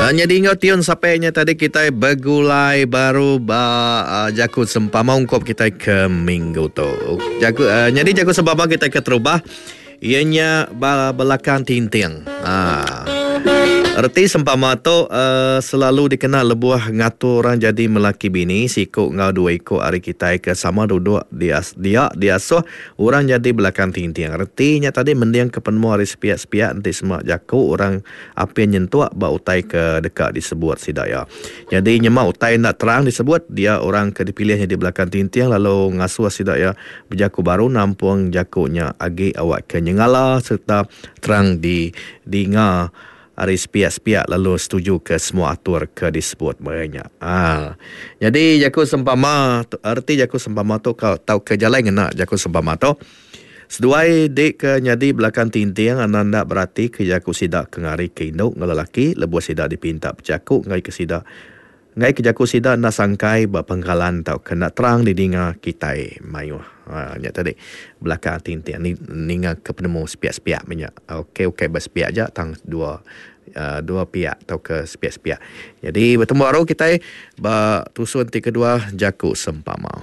Nyadi enggau tiun sape nya tadi kitai begulai baru ba jaku sempama ungkup kitai ke minggu tu. Jaku nyadi jaku sempama kitai keterubah iya nya ba belakang tinting. Haa. Reti sempama tu selalu dikena lebuh ngatur orang jadi melaki bini siku enggau dua iku ari kitai ke sama duduk dia diasuh Orang nyadi belakang tinting. Reti nya tadi mendingka penemu ari sepiak-sepiak enti sema jaku orang apin nyentuk ba utai ke deka disebut sida iya. Nyadi nyema utai enda terang disebut, dia orang ke dipilih nyadi belakang tinting lalu ngasuh sida iya bejaku baru nampung jaku nya agi awakka nyengala sereta terang didinga. Ari sepiak-sepiak lalu setuju ke semua atur ke disebut meri nya. Haa. Nyadi jaku sempama tu, reti jaku sempama tu ka tauka jalai ngena jaku sempama tu, seduai di ke nyadi belakang tinting anang enda berati ke jaku sida ke ngari ke indu enggau lelaki lebuh sida dipinta bejaku enggai ke sida Enggai ke jaku sida enda sangkai ba pengkalan tauka enda terang didinga kitai mayuh. Ha nya tadi belakang tinting ni ninga ke penemu sepiak-sepiak meh nya. Okey ukai ba sepiak aja tang dua uhh dua piak tauka sepiak-sepiak. Nyadi betemu baru kitai ba tusun ti kedua jaku sempama.